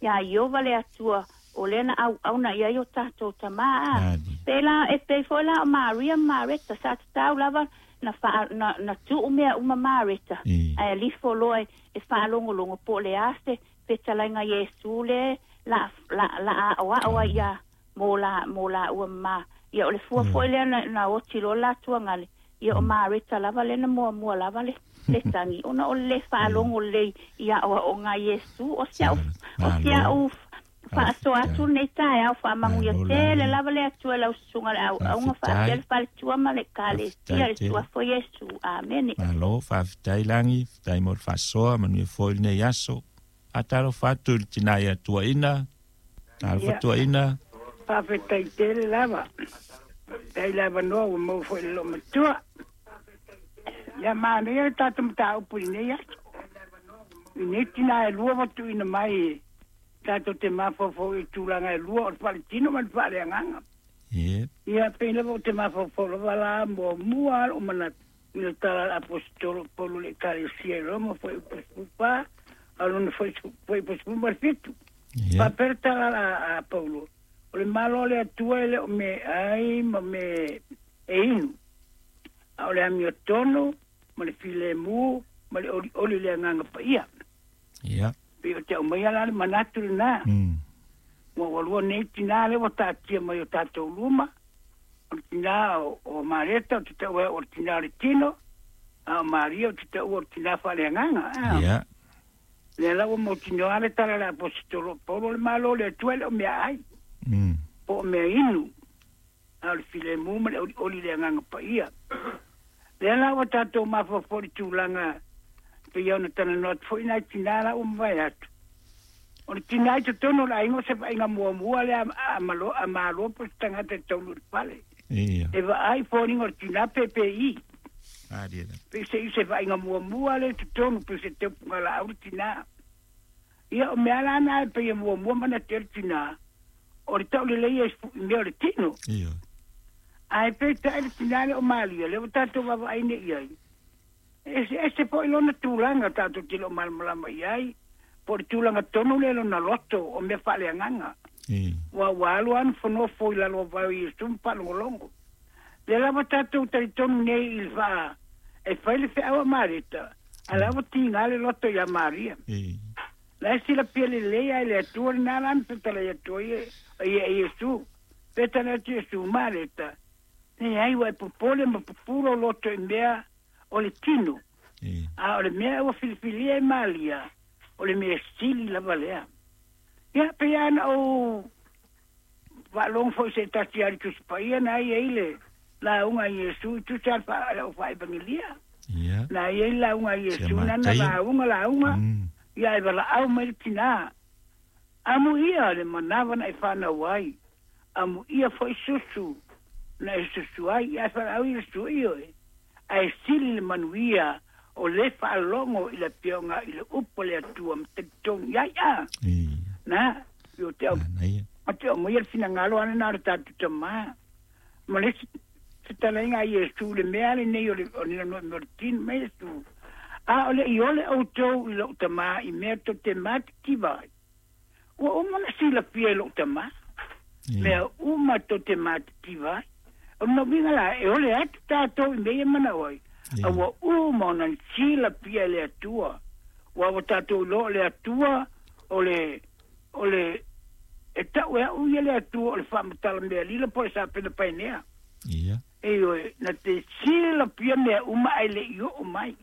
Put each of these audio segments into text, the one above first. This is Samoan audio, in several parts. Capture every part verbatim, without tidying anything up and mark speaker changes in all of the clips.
Speaker 1: Iā Ieova le Atua o lea na auauna i ai o tatou tamā. A pei la e pei foi la o Maria ma Mareta sa tatau lava na faa na, na tuu mea uma Mareta ae alifo loa e, e faalogologo po o le a se fetalaiga Iesu le la la la aoao ai ia mo la mo la ua ma ia o le fua foi lea na, na oti loa la tuagale ia o Mareta lava lea na muamua lava le le tagi ona o le faalogo lelei i aoaoga Iesu o si au o si au faasoa atu lenei taeao faamanuia tele lava le Atua i lau susuga le auauga faapea le faletua ma le Ekalesia i le suafa o Iesu. Amene.
Speaker 2: Malo, faafetai Lagi, faafetai mo le faasoa, manuia foi lenei aso. Faatalofa atu i le tinā ia Tuaina, talofa Tuaina.
Speaker 3: Faafetai tele lava. Faafetai le avanoa ua maua foi i le loomatua. Ia manaia le tatou mataupu i lenei aso. I nei tinā e lua ua tuuina mai e tatou te mafaufau i tulaga e lua o le faaletino ma le faaleagaga.
Speaker 2: Ie.
Speaker 3: Ia pei lava ou te mafaufau lava la muamua lava lou manatu i le tala a le Aposetolo o Paulo i le Ekalesia i Roma fuaiupu sefulu fa a o lona fuaiupu sefulu ma le fitu.
Speaker 2: Ie.
Speaker 3: Faapea le tala a, a Paulo, o le Malo o le Atua e le o meaai ma me e inu, a o le amiotonu ma le filemu ma le olioli i le Agaga Paia.
Speaker 2: Ia.
Speaker 3: Pei o te aumaia la le manatu lenā.
Speaker 2: Mm.
Speaker 3: Ua ua lua nei tinā lea ua taatia mai o tatou luma, o le tinā o, o Mareta ou te taua ai o le tinā o le tino, a o Maria ou te taua o le tinā faaleagaga. A.
Speaker 2: Ia.
Speaker 3: Lea la ua mautinoa le tala a le Aposetolo o Paulo, o le Malo o le Atua e le o meaai,
Speaker 2: Mm.
Speaker 3: po o mea inu, a o le filemu ma le olioli i le Agaga Paia. Lea la ua tatou mafaufau i le tulaga pei ona talanoa atu foi nai tinā la ua mavae atu. O le tinā i totonu o le aiga o se vaaiga muamua lea a, a, malo, a malo po o se tagata e taunuu i le fale.
Speaker 2: Ia.
Speaker 3: E vaai foliga o le tinā pe pe i.
Speaker 2: Malie lava.
Speaker 3: Pei se i se vaaiga muamua lea i totonu pei se teupuga laau le tinā. Ia o mea la na e pei e muamua manatu ai le tinā, o le taulelei e i mea o le tino.
Speaker 2: Ioe.
Speaker 3: Ae peitai le tinā lea o Malia, lea ua tatou vaavaai nei i ai, e eseese foi lona tulaga tatou te le o malamalama i ai, po o le tulaga tonu lea lona loto o mea faaleagaga.
Speaker 2: Ioe.
Speaker 3: Ua ua alu lava nofonofo i lalo o vae o Iesu ma faalogologo. Lea lava tatou talitonu nei i le faa e fai le feau a Mareta, a la ua tiga le loto iā Maria.
Speaker 2: Ioe.
Speaker 3: La e silafia lelei lava e le Atua lenā la na fetalai atu ai e e Iesu. Fetalai atu Iesu, Mareta, leai ua e popole ma pupū lou loto i mea o le tino,
Speaker 2: Ioe.
Speaker 3: a o le mea ua filifilia e Maria, o le mea sili lava lea. Ia, pei lava ona ou faalogo foi i se tasi lava i le Tusi Paia na i ai le lauga a Iesu i tusa lava le au faaevagelia.
Speaker 2: Ia.
Speaker 3: Na i ai le lauga a
Speaker 2: Sia
Speaker 3: Iesu na na
Speaker 2: Mataio.
Speaker 3: lauga lauga,
Speaker 2: Mm.
Speaker 3: ia e valaau mai le tinā. Amuia le manava na e fanau ai, amuia foi susu na e susu ai, ae valaau Iesu, ioe, ae sili le manuia o le faalogo i le afioga i le upu a le Atua ma talitonu i ai a.
Speaker 2: Ia.
Speaker 3: Na, i o te au
Speaker 2: Manaia.
Speaker 3: o te aumaia le finagalo lena o le tatou tamā. Ma le isi fetalaiga a Iesu i le mea lenei o le o le o le tino mai Iesu. A o le i ole outou i lou tamā i mea tou te matitiva ai. Ua uma ona silafia e lou tamā.
Speaker 2: Ia.
Speaker 3: Mea uma tou te matitiva ai. O lona uiga la, e ole atu tatou i mea ia manao ai,
Speaker 2: Ia.
Speaker 3: a ua uma ona silafia e le Atua. Ua ua tatou iloa o le Atua o le o le e tau e au ia le Atua o le faamatala mea lila po o le sapena paenea.
Speaker 2: Ia.
Speaker 3: Ioe, na te silafia mea uma ae le i oo mai.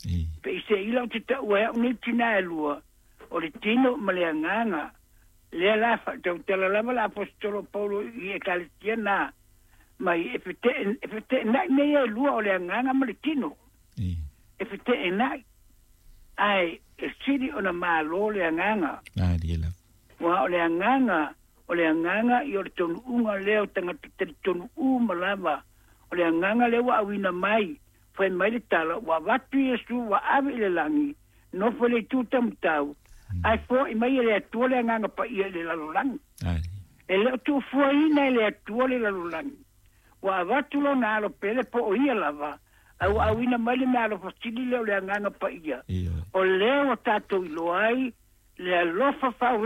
Speaker 2: Ia.
Speaker 3: Peiseila ou te taua ai au nei tinā e lua, o le tino ma le agaga. Lea la faatautala lava le Aposetolo o Paulo i Ekalesia na mai e fete e feteenai mea ia e lua o le agaga ma le tino.
Speaker 2: Ia.
Speaker 3: E feteenai, ae e sili ona malo le agaga.
Speaker 2: Malie lava.
Speaker 3: Ua o le agaga, o le agaga i o le taunuuga lea o tagata talitonu uma lava. O le agaga lea ua auina mai, fai mai le tala, ua avatu Iesu ua ave i le lagi, nofo i le itu taumatau, ae foai mai e le Atua le Agaga Paia i le lalolagi.
Speaker 2: Malie.
Speaker 3: E le o tuufuaina e le Atua le lalolagi. Ua avatu lona alo pele po o ia lava, ae ua auina mai le meaalofa sili lea o le Agaga Paia.
Speaker 2: Ioe.
Speaker 3: O lea ua tatou iloa ai le alofa